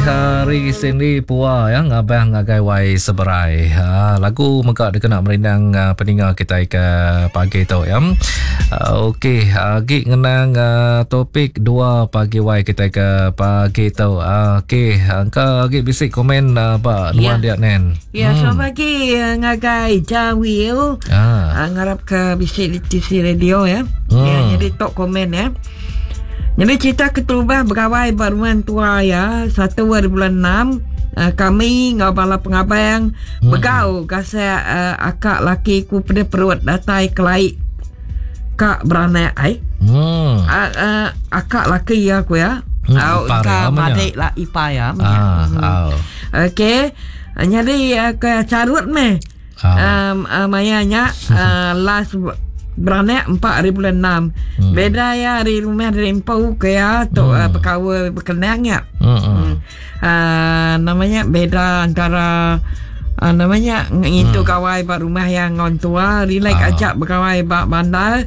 Hari Cindy Pua ya ngabang ngagai wai seberai. Ha, lagu mega dikena merindang uh, peninga kita ke pagi tu ya. Uh, Okey, agi ngenang uh, topik dua pagi wai kita ke pagi tu. Uh, Okey, engka agi bisi komen uh, ba nuan Ya. dia nen. Ya, hmm. selamat pagi ngagai Jawil. Ah. Uh, ngarap ke bisi di TC radio ya. Ya, jadi tok komen ya. Jadi cerita keterubah begawai ba rumah tua ya, satu hari bulan 6 uh, kami ngau bala pengabang begau gasak uh, akak laki ku pedih perut datai kelai kak beranak ai. Uh, uh, akak laki ya aku ya. Au Ipar ka ya, namanya. madik lah ipar ya. Ah, au. Okey. Jadi uh, ke carut meh. Ah. Um, uh, maya nya uh, last beranak 4 hari bulan 6. Beda ya hari rumah dari empu ke ya tu uh, perkara berkenang ya. Uh, namanya beda antara uh, namanya ngintu kawai ba rumah yang ngon tua relax ajak berkawai ba bandar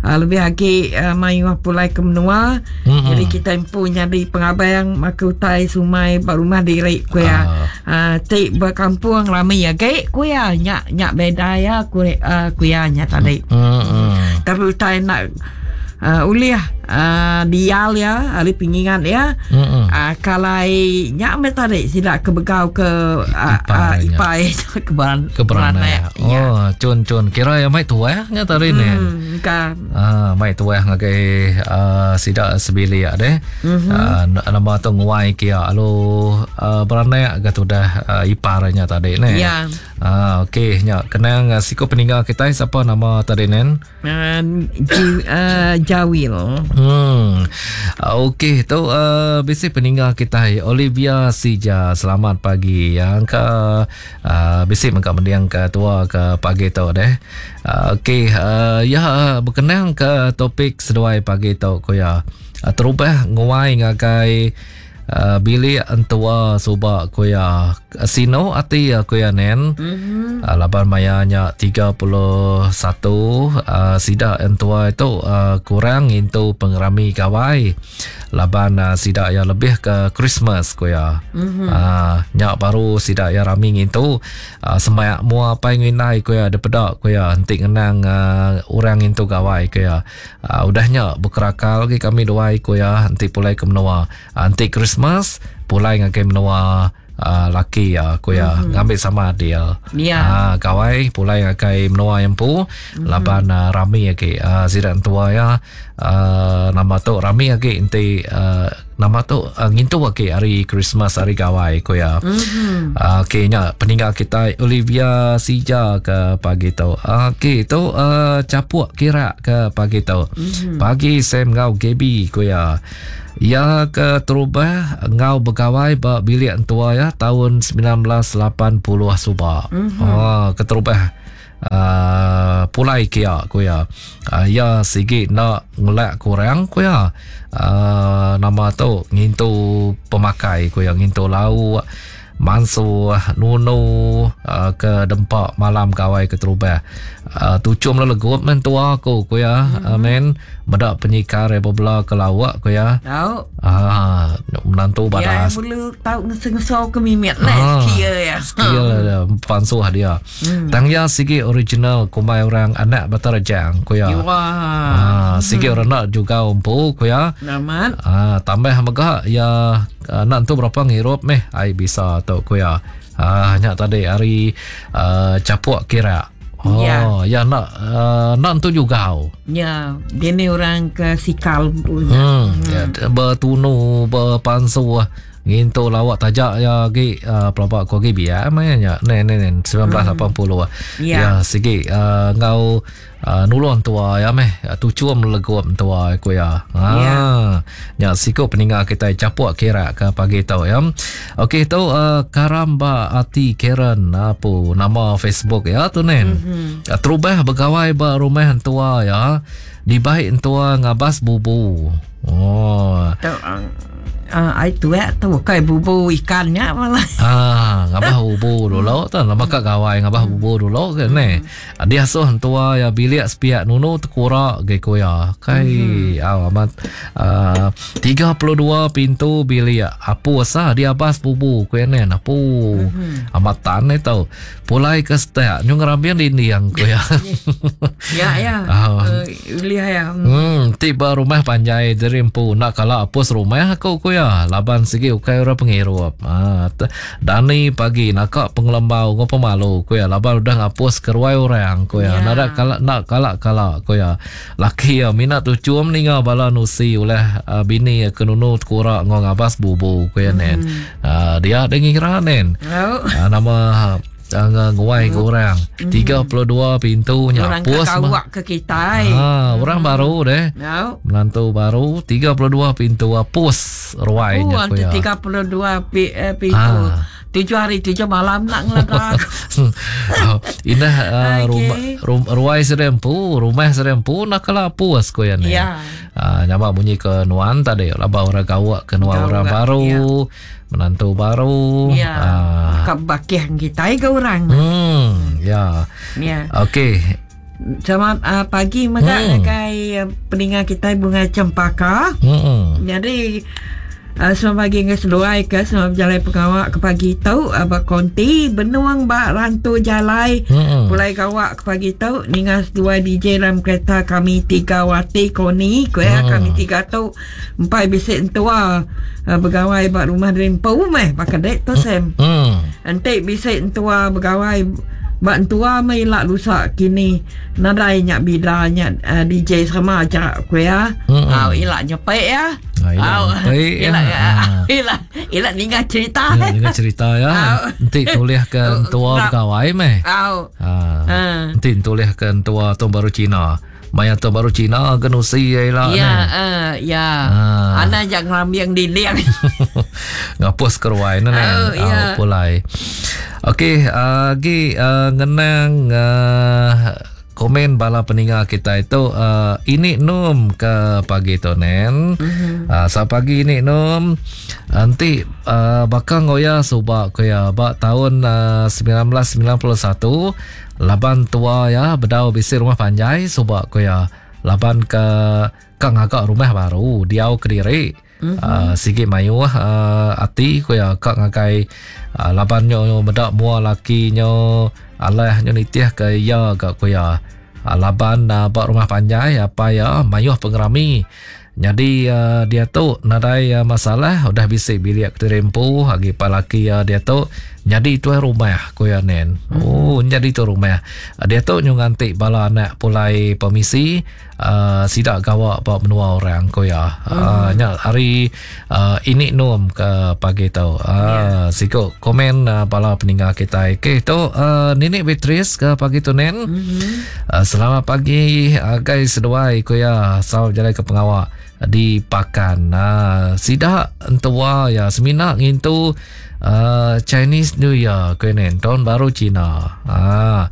uh, lebih agi uh, mayuh pulai ke menua. Jadi kita empu nyadi pengabang maka utai sumai ba rumah diri ku ya. Uh, tik berkampung rami ya ge ku ya nyak nyak beda ya ku uh, ku ya nya tadi. Tapi utai nak uh, ulih uh, dial ya hari pingingan ya. Uh, kalai nyak me tadi sida ke begau ke uh, uh, Ipai ipai ke beran Ke beranak. Ya. Oh, cun cun kira yang mai tuah nya tadi ni. Ka Ah, mai tuah ngagai uh, sida sebilik deh. Uh, nama tu nguai kia lalu uh, beranak ke tudah uh, iparnya tadi ni. Ya. Ah, okey nya kenang uh, siku peninggal kita siapa nama tadi nen? Uh, Jawil. Okey tu uh, bisi peninggal kita Olivia Sija. Selamat pagi. Yang ke uh, bisi mengka mendiang ke tua ke pagi tu deh. Uh, okey uh, ya berkenang ke topik seduai pagi tu ko ya. Uh, terubah nguai ngagai uh, bilik entua subak ko ya. Sino ati ko ya nen. Uh, laban maya nya 31 uh, sida entua itu uh, kurang into pengerami gawai. Laban uh, sida ya lebih ke Christmas ko ya. Uh, nya baru sida ya rami ngintu uh, semayak mua pai ngindai ko ya depedak ko ya entik ngenang uh, orang ngintu gawai ko ya. Uh, udahnya berkerakal lagi kami duai ko ya entik pulai ke menua. Uh, entik Christmas pulai ngagai menua uh, laki ya ko ya ngambil sama dia. Ya. Ah, gawai pulai ngagai menua yang pu laban uh, rami lagi uh, sida tua ya uh, nama tu rami lagi enti uh, nama tu uh, ngintu lagi hari Christmas hari gawai ko ya. Uh, okey nya peninggal kita Olivia Sija ke pagi tu. Uh, okey tu uh, capuk kira ke pagi tu. Pagi Sam ngau Gaby ko ya. Ya ke terubah ngau begawai ba bilik entua ya tahun 1980 subak. Oh, keterubah uh, pulai kia ku ya. Uh, ya sigi nak ngelak kurang ku ya. Uh, nama tu ngintu pemakai ku ya, ngintu lauk mansuh nunu uh, ke dempak malam gawai keterubah. Uh, tucum legup men tua aku ku ya. Men medak penyikar bebela ke lawak ku ya. Tahu. Ah, menantu Ya, badas. perlu tahu ngesel ke mimit lah skill ya. Skill dia, pansuh dia. Tang ya sigi original kumai orang anak Batarajang ku ya. Wah. Ah, sigi orang nak juga umpu ku ya. Namat. Ah, tambah mega ya nak tu berapa ngirup meh ai bisa tu ku ya. Ah, nya tadi hari uh, capuk kira. Oh, Ya. ya nak uh, nak tu juga. Ya, dia ni orang ke sikal punya. Ya, bertunu berpansuh ngintu lawak tajak ya gi uh, pelabak ko gi biar mainnya ne ne ne 1980. Ya. Ya sigi uh, ngau uh, nulung tua ya meh tucuam leguam tua ku ya. Ha. Ya. Ya siku peninggal kita capuk kira ke pagi tu ya. Okey tu uh, Karamba Ati Karen apa nama Facebook ya tu nen. Mm-hmm. Terubah begawai ba rumah tua ya. Dibaik tua ngabas bubu. Oh. Tu Ai tuak tu kai bubu ikan nya malah. Ah, ngabah bubu dulu tu lama ka gawai ngabah bubu dulu ke ne. Dia asuh entua ya bilik sepiak nunu tekura ge ko ya. Kai mm-hmm. au amat uh, 32 pintu bilik apus ah dia abas bubu ko ya ne. Apu. Mm-hmm. Amat tan itu. Pulai ke setak nyu ngerambing dinding ko ya. Ya ya. Uh, ulih ya. Hmm, ti ba rumah panjai diri empu enda kala apus rumah aku ku ya. Laban sigi ukai orang pengirup. Ha, dani pagi naka pengelembau enggau pemalu ku ya laban udah ngapus ke ruai orang ku ya. Nada kala enda kala kala ku ya. Laki ya mina tuchum ninga bala nusi ulah uh, bini ke nunu tekura enggau ngabas bubu ku ya nen. Uh, dia dia ngira nen. Uh, nama uh, nguai ke orang. 32 pintu nya Orang ke apus mah. kawak ke kitai. Ha, orang baru deh. No. Menantu baru 32 pintu apus ruai Oh, nya ku anti ya. 32 pi, eh, pintu. Ah. Tujuh hari tujuh malam nak ngeledak. Oh, indah uh, Okey. rumah rum, ruai serempu, rumah serempu nak kala apus ku ya ni. Ya. Uh, nyama bunyi ke nuan tadi laba orang gawak ke nuan Gawak, orang baru, ya. menantu baru. Ya. Ah. Ka bakih kitai ke orang. Ya. Ya. Okey. Selamat uh, pagi mega ngagai uh, peninga kitai Bunga Cempaka. Jadi uh, selamat pagi dengan seduai ke selamat berjalan pengawak ke pagi tu uh, ba konti benuang ba rantu jalai pulai gawak ke pagi tu ninga seduai DJ dalam kereta kami tiga wati koni ku ya kami tiga tu empai bisik entua uh, begawai ba rumah derimpu meh baka dek tu Sam. Enti bisik entua begawai ba entua meh ila lusa kini nadai nya bida nya uh, DJ sama aja ku ya. Au ila nyepek ya. Ah, ila Au, nyepek ya. ila Ah. ila ila ninga cerita. Ya, dengan cerita ya. Au. Enti tulis ke entua Au. begawai meh. Au. Ha. Ah. Enti tulis ke entua tahun baru Cina. Maya tahun baru Cina ke nusi ila Ya, ni. uh, ya. Ah. Ana jangan ngerambiang dinding. Ngapus ke ruai ne ne. Oh, ya. Au, pulai. Okey, lagi uh, ngenang uh, komen bala peninga kita itu uh, ini num ke pagi tu nen. Mm-hmm. Uh, sa pagi ini num nanti uh, bakal ngoya subak ko ya ba tahun uh, 1991 laban tua ya bedau bisi rumah panjai subak ko ya laban ke ke ngagak rumah baru diau kediri. Mm-hmm. Sigi mayuh ati ko ya kak ngagai laban nyo medak mua laki nyo alah nyo nitih ke ya gak ko ya laban ba rumah panjai apa ya mayuh pengerami. Jadi uh, dia tu nadai uh, masalah udah bisi bilik terempu agi palaki uh, dia tu jadi tuan rumah ko ya nen. Oh jadi tu rumah. Uh, dia tu nyu nganti bala anak pulai permisi uh, sidak gawak ba menua orang ko ya. Uh, nya hari uh, ini nom ke pagi tu. Uh, Siko komen uh, bala peninggal kita. Okey tu uh, Nenek Beatrice ke pagi tu nen. Uh, selamat pagi uh, guys seduai ko ya. Selamat berjalan ke pengawak di Pakan. Uh, sidak entua ya semina ngintu uh, Chinese New Year ko nen tahun baru Cina. Ah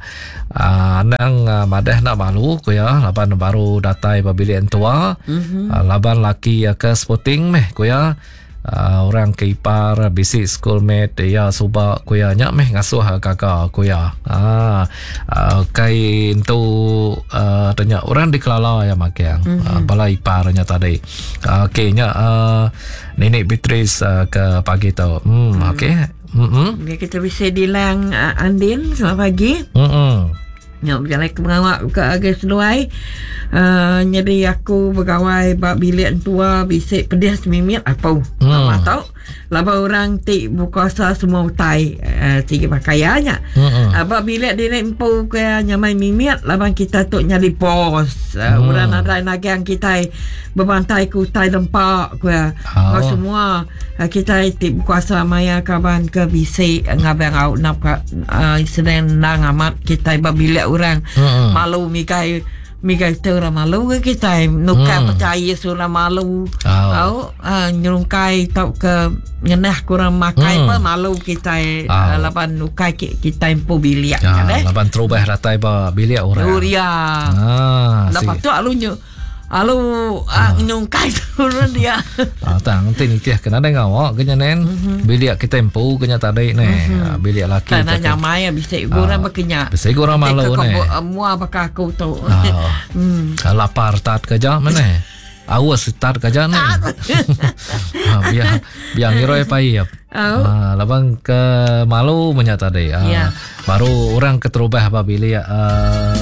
uh, anang uh, madah nak malu ko ya laban baru datai ba bilik entua. Mm-hmm. Uh, laban laki uh, ke sporting meh ko ya. Orang ke ipar bisi schoolmate ya subak ko ya nya meh ngasuh kakak ko ya. Kai entu tanya orang dikelala ya makiang. Mm-hmm. Bala iparnya tadi. Okey nya Nenek Beatrice ke pagi tu. Okey. Dia kita bisa dilang Andin selamat pagi. Nyok berjalan ke pengawak ke agai seduai. Jadi aku bergawai bak bilik tua bisik pedih semimit apa. Lama tau. Laba orang ti berkuasa semua utai tiga pakaiannya. Bak bilik dia empu ke nyamai mimit laban kita tu nyadi bos. Orang nadai nagang kita berbantai ke utai dempak ke. Oh. Semua kita ti berkuasa maya kaban ke bisik ngabang au nap ka sedang nang amat kita bak bilik orang. Malu mikai mikai tu orang malu ke kita nuka percaya surah malu. Oh. Au nyerungkai tau ke ngenah kurang makai apa malu kita laban nukai kita empu bilik Ya, kan eh. laban terubah datai ba bilik orang. Uria. Lepas tu alunya Lalu ah. nyungkai turun dia. Ah, tang enti nitih ke nadai ngawa ke nya nen. Mm-hmm. Bilik kita empu ke nya tadi ne. Mm-hmm. Ah, bilik laki tak nyamai bisi gura ah, bekenya. Bisi gura malu ne. Mua baka aku tu. Ah. Lapar tat ke ja mene. Aus tat ke ja ne. Ha, biar biar ngiroi paip. Oh. Ha, laban ke malu menya tadi. Ha, yeah. Baru orang keterubah ba bilik uh,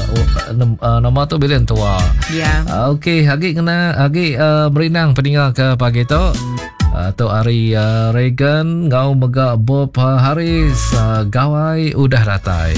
uh, nama tu bilik entua. Yeah. Uh, Okey, agi kena agi uh, merindang peninga ke pagi tu. Uh, tu hari uh, Reagan ngau mega Bob Harris uh, gawai udah datai.